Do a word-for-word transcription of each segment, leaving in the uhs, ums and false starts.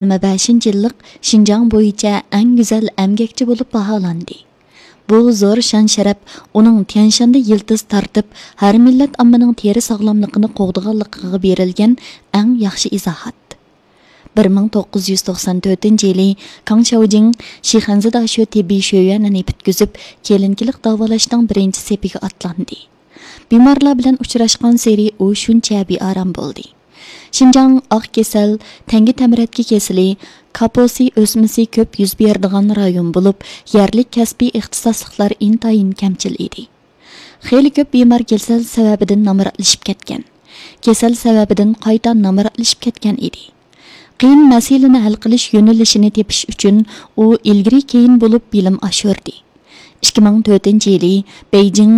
يىگىرمە بەشىنچى يىللىق شىنجاڭ بويىچە ئەڭ گۈزەل ئەمگەكچى بولۇپ باھالاندى. بۇ زور شان-شەرەپ ئۇنىڭ تيەنشاندا يىلتىز تارتىپ، ھەر مىللەت ئاممىنىڭ تېرە ساغلاملىقىنى قوغدىغانلىقىغا بېرىلگەن ئەڭ ياخشى ئىزاھات. بىر مىڭ توققۇز يۈز توقسان تۆتىنچى يىلى كاڭ شياۋجىڭ شىخەنزىداشۆ تېببىي شۆيۈەنىنى پۈتكۈزۈپ، كېلىنكىلىك داۋالاشنىڭ بىرىنچى سېپىگە ئاتلاندى. بىمارلار بىلەن ئۇچراشقانسېرى ئۇ شۇنچە بىئارام بولدى. شىنجاڭ ئاق كېسەل، تەڭگە تەمرەتكە كېسىلى، كاپوسى ئۆسمىسى كۆپ يۈز بېرىدىغان رايون بولۇپ، يەرلىك كەسپىي ئىختىساسلىقلار ئىنتايىن كەمچىل ئىدى. خېلى كۆپ بىمار كېسەل سەۋەبىدىن نامراتلىشىپ كەتكەن. كېسەل سەۋەبىدىن قايتا نامراتلىشىپ كەتكەن ئىدى. قىيىن مەسىلىنى ھەل قىلىش يۆنىلىشىنى تېپىش ئۈچۈن ئۇ ئىلگىرى كېيىن بولۇپ بىلىم ئاشۇردى. ئىككى مىڭ تۆتىنچى يىلى بېيجىڭ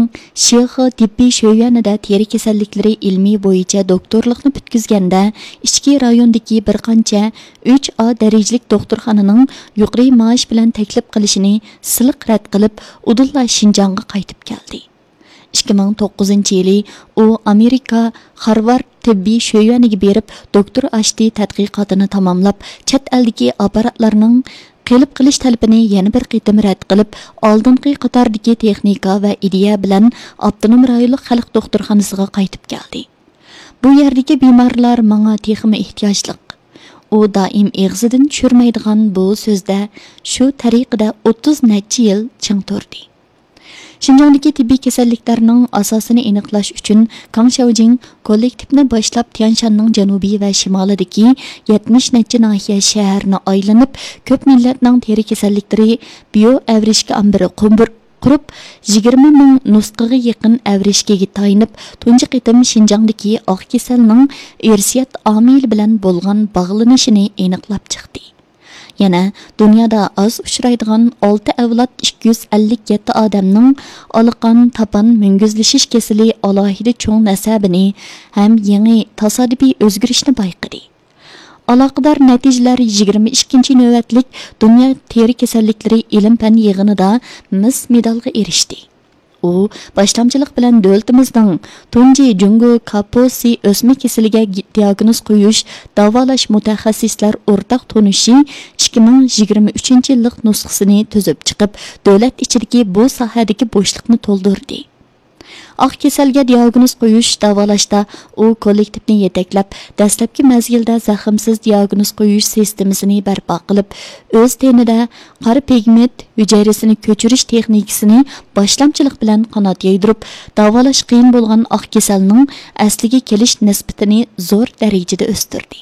شىخې تېببىي شۆيۈەنىدە تېرە كېسەللىكلىرى ئىلمى بويىچە دوكتورلۇقنى پۈتكۈزگەندە، ئىچكى رايوندىكى بىر قانچە ئۈچ ئا دەرىجىلىك دوختۇرخانىنىڭ يۇقىرى مائاش بىلەن تەكلىپ قىلىشىنى سىلىق رەت قىلىپ، ئۇدۇللا شىنجاڭغا قايتىپ كەلدى. ئىككى مىڭ توققۇزىنچى يىلى ئۇ ئامېرىكا خارۋارد تېببىي شۆيۈەنىگە بېرىپ، دوكتور ئاشتى تەتقىقاتىنى تاماملاپ، چەت ئەلدىكى ئاپپاراتلارنىڭ قېلىپ قېلىش تەلىپىنى يەنە بىر قېتىم رەت قىلىپ، ئالدىنقى قاتاردىكى تېخنىكا ۋە ئىدىيە بىلەن ئاپتونوم رايونلۇق خەلق دوختۇرخانىسىغا قايتىپ كەلدى. بۇ يەردىكى بىمارلار ماڭا تېخىمۇ ئېھتىياجلىق. ئۇ دائىم ئېغىزىدىن چۈشۈرمەيدىغان بۇ سۆزدە شۇ تەرىقىدە ئوتتۇز نەچچە يىل چىڭ تۇردى. شىنجاڭدىكى تېببىي كېسەللىكلەرنىڭ ئاساسىنى ئېنىقلاش ئۈچۈن، كاڭ شياۋجىڭ كوللېكتىپنى باشلاپ، تيەنشاننىڭ جەنۇبى ۋە شىمالىدىكى يەتمىش نەچچە ناھىيە، شەھەرنى ئايلىنىپ، كۆپ مىللەتنىڭ تېرە كېسەللىكلىرى بىيو ئەۋرىشكە ئامبىرى قۇمبۇر-، قۇرۇپ، يىگىرمە مىڭ نۇسخىغا يېقىن ئەۋرىشكىگە تايىنىپ، تۇنجى قېتىم شىنجاڭدىكى ئاق كېسەلنىڭ ئىرسىيەت ئامىلى بىلەن بولغان باغلىنىشىنى ئېنىقلاپ چىقتى. يەنە دۇنيادا ئاز ئۇچرايدىغان ئالتە ئەۋلاد ئىككى يۈز ئەللىك يەتتە ئادەمنىڭ ئالىقان، تاپان مۈڭگۈزلىشىش كېسىلى ئالاھىدە چوڭ نەسەبىنى ھەم يېڭى تاسادىپىي ئۆزگىرىشنى بايقىدى. ئالاقىدار نەتىجىلەر يىگىرمە ئىككىنچى نۆۋەتلىك دۇنيا تېرە كېسەللىكلىرى ئىلىم-پەن يىغىنىدا مىس مېدالغا ئېرىشتى. ئۇ باشلامچىلىق بىلەن دۆلىتىمىزنىڭ تۇنجى جۇڭگو كاپوسى ئۆسمە كېسىلىگە گى-، دىئاگنوز قويۇش، داۋالاش مۇتەخەسسىسلەر ئورتاق تونۇشى ئىككى مىڭ يىگىرمە ئۈچىنچى يىللىق نۇسخىسىنى تۈزۈپ چىقىپ، دۆلەت ئىچىدىكى بۇ ساھەدىكى بوشلۇقنى تولدۇردى. ئاق كېسەلگە دىئاگنوز قويۇش، داۋالاشتا ئۇ كوللېكتىپنى يېتەكلەپ، دەسلەپكى مەزگىلدە زەخىمسىز دىئاگنوز قويۇش سىستېمىسىنى بەرپا قىلىپ، ئۆز تېنىدە قارا پىگمېنت ھۈجەيرىسىنى كۆچۈرۈش تېخنىكىسىنى باشلامچىلىق بىلەن قانات يايدۇرۇپ، داۋالاش قىيىن بولغان ئاق كېسەلنىڭ ئەسلىگە كېلىش نىسبىتىنى زور دەرىجىدە ئۆستۈردى.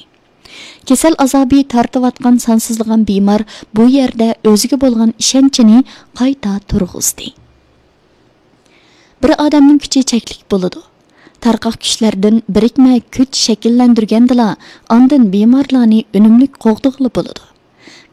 كېسەل ئازابى تارتىۋاتقان سانسىزلىغان بىمار بۇ يەردە ئۆزىگە بولغان ئىشەنچىنى قايتا تۇرغۇزدى. بىر ئادەمنىڭ كۈچى چەكلىك بولىدۇ. تارقاق كۈچلەردىن بىرىكمە كۈچ شەكىللەندۈرگەندىلا، ئاندىن بىمارلارنى ئۈنۈملۈك قوغدىغىلى بولىدۇ.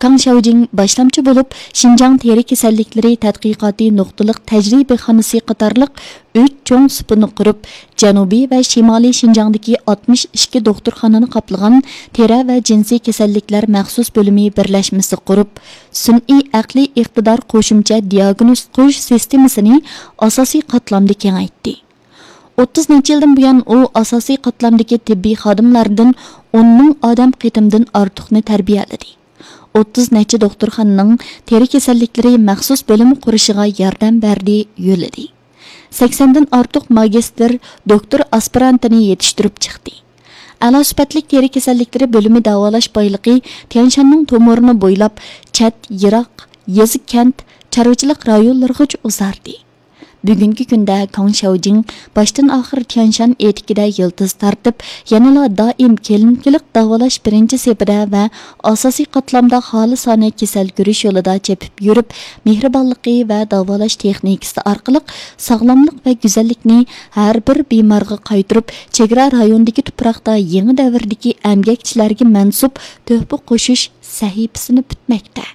كاڭ شياۋجىڭ باشلامچى بولۇپ، شىنجاڭ تېرە كېسەللىكلىرى تەتقىقاتى نۇقتىلىق تەجرىبىخانىسى قاتارلىق ئۈچ چوڭ سۇپىنى قۇرۇپ، جەنۇبىي ۋە شىمالىي شىنجاڭدىكى ئاتمىش ئىككى دوختۇرخانىنى قاپلىغان تېرە ۋە جىنسىي كېسەللىكلەر مەخسۇس بۆلۈمى بىرلەشمىسى قۇرۇپ، سۈنئىي ئەقلىي ئىقتىدار قوشۇمچە دىئاگنوز قويۇش سىستېمىسىنى ئاساسىي قاتلامدا كېڭەيتتى. ئوتتۇز نەچچە يىلدىن بۇيان ئۇ ئاساسىي قاتلامدىكى تېببىي خادىملاردىن ئون مىڭ ئادەم قېتىمدىن ئارتۇقنى تەربىيەلىدى. ئوتتۇز نەچچە دوختۇرخانىنىڭ تېرە كېسەللىكلىرى مەخسۇس بۆلۈمى قۇرۇشىغا ياردەم بەردى، يۆلىدى. سەكسەندىن ئارتۇق ماگىستىر، دوكتور ئاسپىرانتىنى يېتىشتۈرۈپ چىقتى. ئەلا سۈپەتلىك تېرە كېسەللىكلىرى بۆلۈمى داۋالاش بايلىقى تيەنشاننىڭ تومۇرىنى بويلاپ، چەت، يىراق، يېزا، كەنت، چارۋىچىلىق رايونلىرىغىچە ئۇزاردى. بۈگۈنكى كۈندە كاڭ شياۋجىڭ باشتىن ئاخىر تيەنشان ئېتىكىدە يىلتىز تارتىپ، يەنىلا دائىم كېلىنىكىلىق داۋالاش بىرىنچى سېپىدە ۋە ئاساسىي قاتلامدا خالىسانە كېسەل كۆرۈش يولىدا چېپىپ يۈرۈپ، مېھرىبانلىقى ۋە داۋالاش تېخنىكىسى ئارقىلىق ساغلاملىق ۋە گۈزەللىكنى ھەر بىر بىمارغا قايتۇرۇپ، چېگرا رايونىدىكى تۇپراقتا يېڭى دەۋردىكى ئەمگەكچىلەرگە مەنسۇپ تۆھپە قوشۇش سەھىپىسىنى پۈتمەكتە.